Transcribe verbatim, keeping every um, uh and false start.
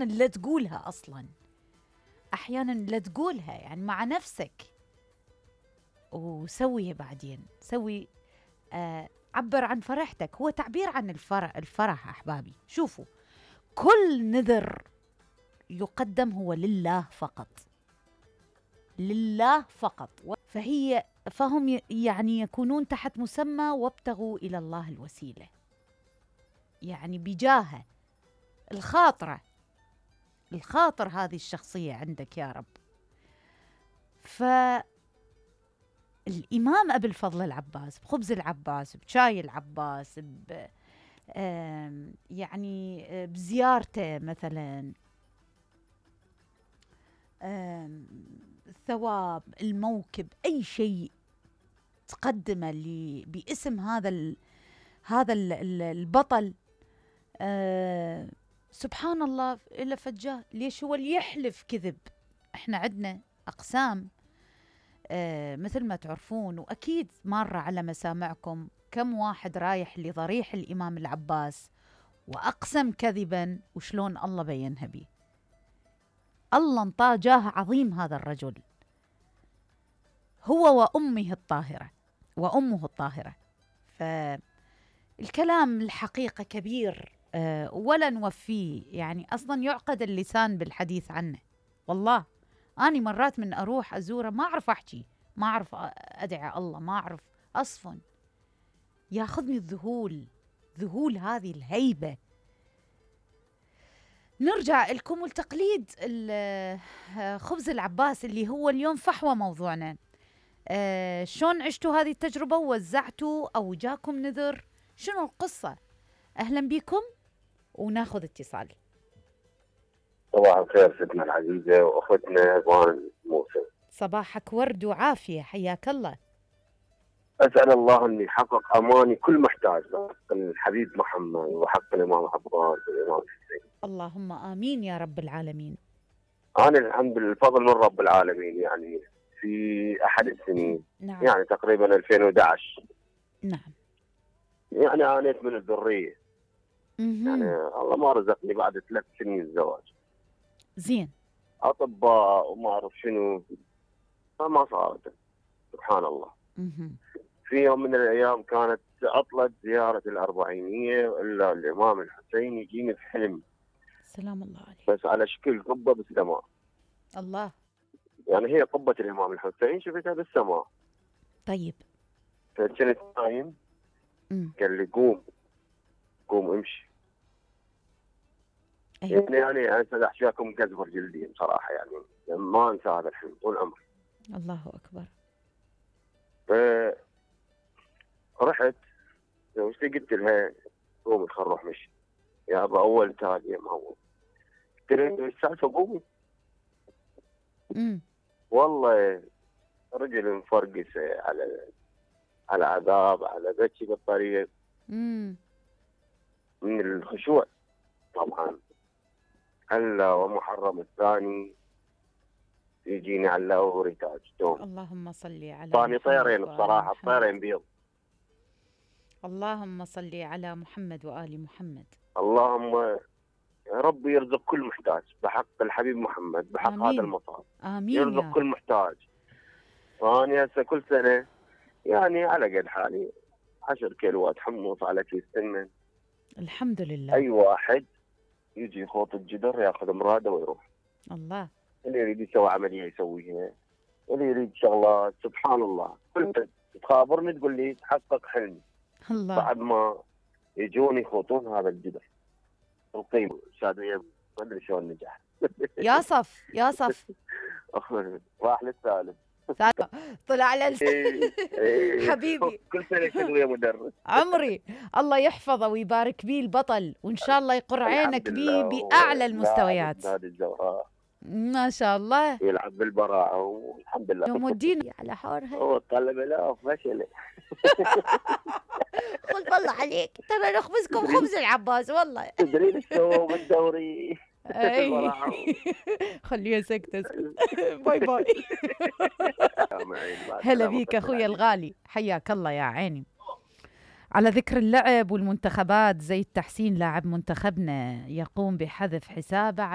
أحيانا لا تقولها أصلا، أحيانا لا تقولها يعني مع نفسك، وسوي بعدين سوي آه عبر عن فرحتك. هو تعبير عن الفرح. الفرح أحبابي شوفوا، كل نذر يقدم هو لله فقط، لله فقط. فهي فهم يعني يكونون تحت مسمى وابتغوا إلى الله الوسيلة، يعني بجاهه الخاطرة، الخاطر هذه الشخصية عندك يا رب. فالإمام أبي الفضل العباس بخبز العباس، بشاي العباس، ب يعني بزيارته مثلا، الثواب، الموكب، أي شيء تقدمه باسم هذا ال هذا ال البطل، أه سبحان الله إلا فجاه. ليش هو اللي يحلف كذب؟ احنا عندنا أقسام أه مثل ما تعرفون، وأكيد مرة على مسامعكم كم واحد رايح لضريح الإمام العباس وأقسم كذبا، وشلون الله بينها بيه. الله انطاه جاه عظيم هذا الرجل، هو وأمه الطاهرة وأمه الطاهرة. فالكلام الحقيقة كبير أه ولا نوفيه، يعني أصلا يعقد اللسان بالحديث عنه. والله أنا مرات من أروح أزوره ما أعرف أحكي، ما أعرف أدعي الله، ما أعرف أصفن، ياخذني الذهول، ذهول هذه الهيبة. نرجع لكم التقليد خبز العباس اللي هو اليوم فحوى موضوعنا. آه شلون عشتوا هذه التجربة ووزعتوا أو جاكم نذر؟ شنو القصة؟ أهلا بكم وناخذ اتصال. صباح الخير ستنا العزيزة وأختنا بان موسى. صباحك ورد وعافية، حياك الله. أسأل الله أن يحقق أماني كل محتاج حق الحبيب محمد وحق الإمام عباس والإمام حسين. اللهم آمين يا رب العالمين. أنا الحمد لله الفضل من رب العالمين، يعني في أحد السنين نعم. يعني تقريبا ألفين وأحد عشر نعم. يعني عانيت من الذرية. مم. يعني الله ما رزقني بعد ثلاث سنين الزواج. زين. أطباء وما أعرف شنو فما صارت. سبحان الله. مم. في يوم من الأيام كانت عطلة زيارة الأربعينية، إلا الإمام الحسين يجيني في حلم. سلام الله عليه. بس على شكل قبة بالسماء. الله. يعني هي قبة الإمام الحسين شفتها بالسماء. طيب. فكنت نايم، قال لي قوم قوم امشي. أيوة. يعني يعني أنا أحشاكم كزبر جلدي بصراحة، يعني ما أنسى هذا الحلم طول عمري. الله أكبر. فرحت زوجتي قلت لها قومي خل نروح مشي يا أبا، أول تالي ما هو. قلت لها ايش السالفة قومي. امم والله رجل مفرقس على على عذاب، على بكي بالطريق. امم من الخشوع طبعا. هلا ومحرم الثاني يجيني على وريتاج دوم. اللهم صل على ثاني طيرين بصراحة، طيرين بيض. اللهم صل على محمد وآل محمد. اللهم يا رب يرزق كل محتاج بحق الحبيب محمد، بحق آمين. هذا المصاب. آمين. يرزق يا كل محتاج. أنا هسه كل سنة يعني على قد حالي عشر كيلوات حمص على كيس سمن. الحمد لله. أي واحد يجي يخوط الجدر ياخذ مراده ويروح. الله. اللي يريد يسوي عملية يسويها، اللي يريد شغلات. سبحان الله. كل تخابرني تقول لي تحقق حلمي. الله. بعد ما يجون يخوطون هذا الجدر القيمة شادية ما أدري شلون نجح. يا صف يا صف راح للثالث طلع على حبيبي. كل سنة تدوية مدرس. عمري الله يحفظه ويبارك بيه البطل، وإن شاء الله يقر عينك بيه بأعلى المستويات. نادي الزهراء ما شاء الله. يلعب بالبراعة والحمد لله. يوم الدين على حورها. هو طلب لا فشل. قلت والله عليك ترى نخبزكم خبز العباس والله. تدرين الثوب الدوري. اي خليها سكتة. باي باي. هلا بيك اخويا الغالي، حياك الله يا عيني. على ذكر اللعب والمنتخبات، زي التحسين لاعب منتخبنا يقوم بحذف حسابه على